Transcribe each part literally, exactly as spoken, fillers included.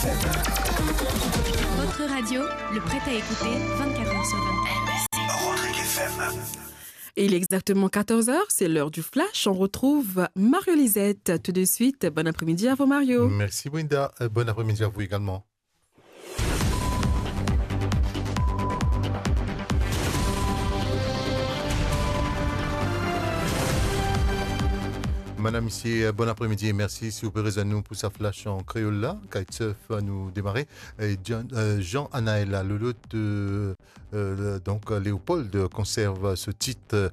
Votre radio, le prêt à écouter, vingt-quatre heures sur vingt-quatre. Rodrigue F M. Et il est exactement quatorze heures, c'est l'heure du flash. On retrouve Mario Lisette tout de suite. Bon après-midi à vous, Mario. Merci, Brenda. Euh, bon après-midi à vous également. Madame, misie, bon apremidi e mersi. Si ou pe rezwenn nou pou sa flash an kreol la, kitesurf, nou demare. E Jean, euh, Jean Anaël Lolot, euh, euh, donk, Léopold konserv so tit, euh,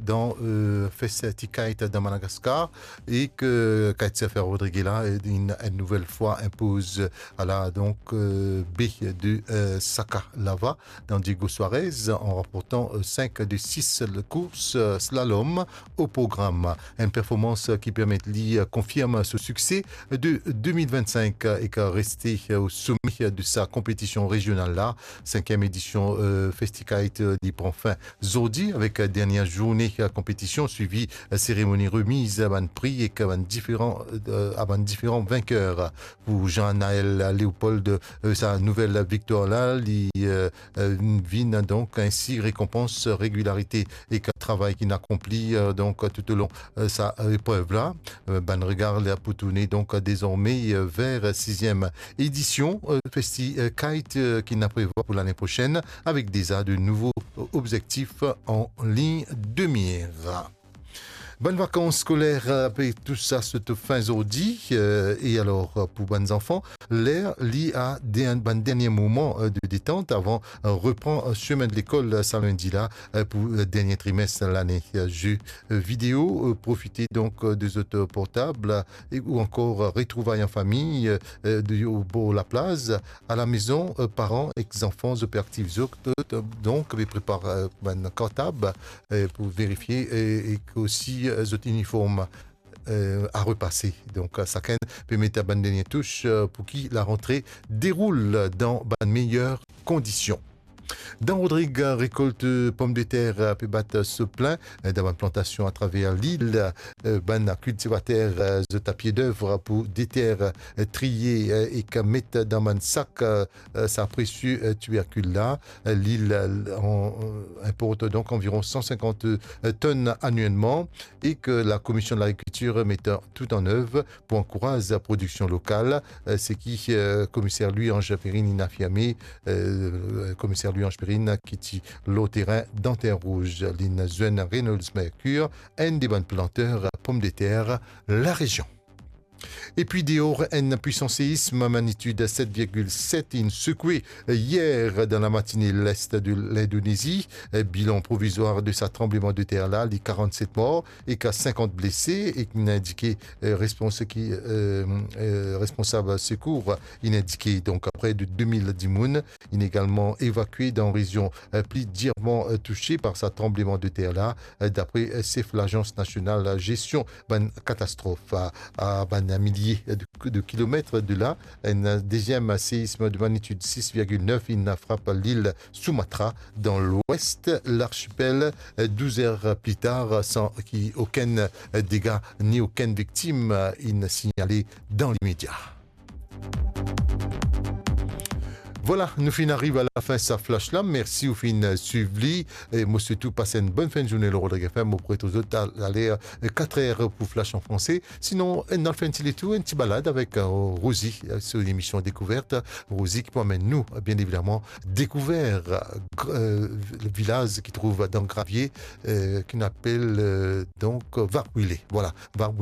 dan, euh, Festikite dan Madagaskar, e ke kitesurfer Rodrigue la, euh, enn, enn nouvel fwa inpoz, euh, ala, donk, euh, B de, euh, Saka Lava dan Diego Suarez, an ranportan, euh, sink de sis kours, euh, slalom o program. Enn performans, euh, ki permet li, euh, konfirm so sikse de de mil vinn-sink, euh, e ki reste, euh, o some, euh, de sa konpetision rezional la. Sinkiem edision, euh, Festikite, euh, li pran fin zordi avek, euh, dernie zourne, euh, konpetision, swivi, euh, seremoni remiz, euh, bann pri ek, euh, bann diferan, euh, a bann diferan vinker. Pou Jean Anaël Léopold, euh, sa nouvel viktwar la, li, euh, euh, vinn donk ensi rekonpans regilarite ek travay ki inn akonpli, euh, donk toulong, euh, sa, euh, eprev la. Euh, bann regar la pou tourne donk dezorme, euh, ver siziem edision, euh, Festikite, euh, ki inn prevwa pou lane prosenn, avek deza de nouvo, euh, obzektif an lign de mir. Bann vakans skoler, euh, pe tous sa sot fin zordi, euh, e alor, euh, pou bann zanfan, ler li a de-, bann dernie moman, euh, de detant avan, euh, repran, euh, semin de lekol, euh, sa lindi la, euh, pou, euh, dernie trimes lane. Euh, ze, euh, video, euh, profite donk, euh, de zot, euh, portab, euh, e, ou ankor, euh, retrouvay an fami, euh, euh, de, o bor laplaz, a lamezon, euh, paran ek zanfan, zot pe aktiv zot, euh, donk, pe prepar, euh, bann kartab, euh, pou verifie, e, e osi, euh, zot iniform, euh, a repase. Donk, euh, sakenn pe met bann dernie tous, euh, pou ki larantre deroul dan bann meyer kondision. Dan Rodrig, rekolt pomdeter pe bat so plin dan bann plantasion atraver lil. Bann kiltivater zot a pie dev pou deter, triye ek met dan bann sak sa presie tiberkil la. Lil inport donk anviron san sinkant tonn anielman e ke Lakomision de Lagrikiltir met tou an ev pou ankouraz prodiksion lokal, seki Komiser Louis-Ange Perrine inn afirme, Komiser Louis-Ange Perrine ki ti lor terin dan Terre Rouge, linn zwenn Reynolds Mercure, enn de bann planter pomdeter larezion. Epi deor, enn pwisan seism magnitid set virgil set inn sekwe yer dan lamatine lest de Lindonezi. Bilan provizwar de sa tranbleman de ter la, li karannset mor ek sinkant blese, e ki inn indike, eh, respons-, ki, eh, eh, responsab sekour inn indike. Donk, pre de de mil dimoun inn egalman evakue dan rezion, eh, pli dirman, eh, touse par sa tranbleman de ter la, eh, dapre, eh, sef Lazans Nasional Zestion bann Katastrof. A, a bann milie de, de kilomet de la, enn deziem seism de magnitid sis virgil nef inn frap lil Sumatra dan lwes larsipel, douz er pli tar, san ki okenn dega ni okenn viktim inn signale dan limedia. Vwala, nou finn ariv a lafin sa flash la. Mersi ou finn swiv li. E mo swet ou pas enn bonn fin de zourne lor Rodrig F M. Mo pou retrouv zot a, a ler, eh, kat er pou flash an franse. Sinon, eh, nou al fer enn ti letour, enn ti balad avek, eh, Rosie, eh, so lemision Dekouvert. Rosie ki pou amenn nou, eh, bien evidaman, dekouver, eh, gr-, eh, le vilaz ki trouv dan Gravie, eh, ki nou apel, eh, donk, Varpwile. Vwala, Varpwile.